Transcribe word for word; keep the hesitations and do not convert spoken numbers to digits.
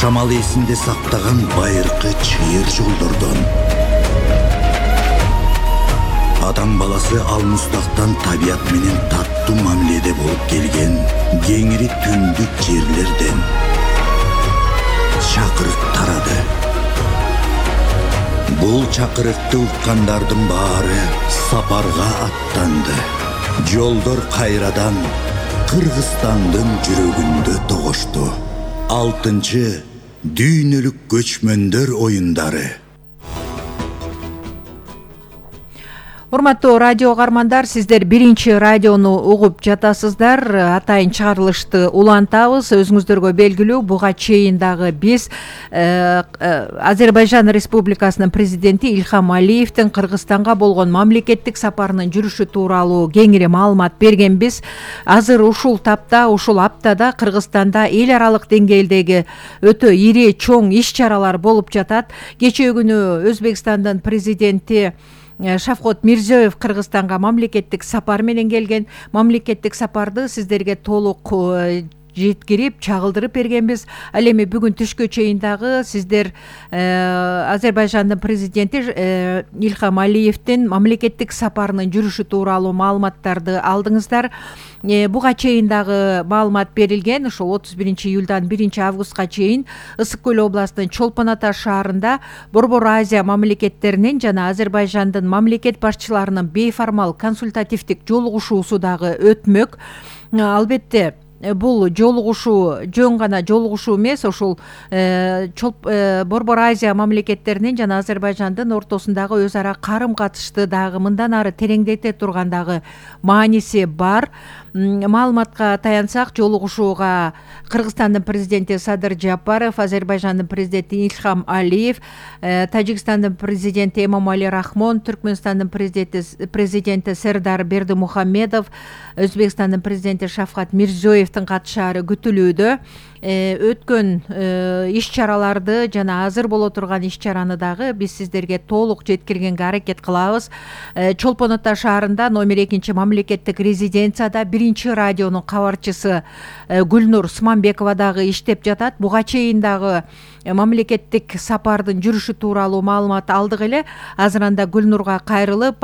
Кашамал эсинде сактаган байыркы чыйыр жолдордон. Адам баласы алмустактан табият менен таттуу мамиледе болуп келген кеңири түндүк жерлерден чакырык тарады. Бул чакырыкты уккандардын баары сапарга аттанды. Жолдор кайрадан Кыргызстандын жүрөгүндө тогошту. Алтынчы дүйнөлүк көчмөндөр оюндары. Урматтуу радио угармандар, сиздер биринчи радиону угуп жатасыздар. Атайын чыгарылышты улантабыз. Өзүңүздөргө белгилүү, буга чейин дагы биз э, э, Азербайжан Республикасынын президенти Ильхам Алиевдин Кыргызстанга болгон мамлекеттик сапарынын жүрүшү тууралуу кеңири маалымат бергенбиз. Азыр ушул тапта, ушул аптада Кыргызстанда эл аралык деңгээлдеги өтө ири чоң иш-чаралар болуп жатат. Кечээ күнү Өзбекстандын президенти Шавкат Мирзиёев Кыргызстанга мамлекеттик сапар менен келген. Мамлекеттик сапарды сиздерге толук жеткирип, чагылдырып бергенбиз. Ал эми бүгүн түшкө чейин дагы сиздер э, Азербайжандын президенти э, Ильхам Алиевдин мамлекеттик сапарынын жүрүшү тууралуу маалыматтарды алдыңыздар. Э, буга чейин дагы маалымат берилген. Ошол отуз биринчи июлдан биринчи августка чейин Ысык көл областынын Чолпон Ата шаарында Борбор Азия мамлекеттеринин жана Азербайжандын мамлекет башчыларынын бейформал консультативдик жолугушуусу дагы өтмөк. Албетте бул жолугушуу жөн гана жолугушуу эмес, ошол э, э, Борбор Азия мамлекеттеринин жана Азербайжандын ортосундагы өз ара карым катышты дагы мындан ары тереңдете турган дагы мааниси бар. Маалыматка таянсак, жолугушууга Кыргызстандын президенти Садыр Жапаров, Азербайжандын президенти Ильхам Алиев, э, Тажикстандын президенти Эмомали Рахмон, Түркмөнстандын президенти, президенти Сердар Бердимухамедов, Өзбекстандын президенти Шавкат Мирзиёевдин катышаары күтүлүүдө. Э, өткөн э, иш-чараларды жана азыр боло турган иш-чараны дагы биз сиздерге толук жеткиргенге аракет кылабыз. Э, Чолпон Ата шаарында номер экинчи мамлекеттик резиденцияда биринчи радионун кабарчысы э, Гүлнур Сманбекова дагы иштеп жатат. Буга чейин дагы мамлекеттик сапардын жүрүшү тууралуу маалымат алдык эле. Азыр анда Гүлнурга кайрылып,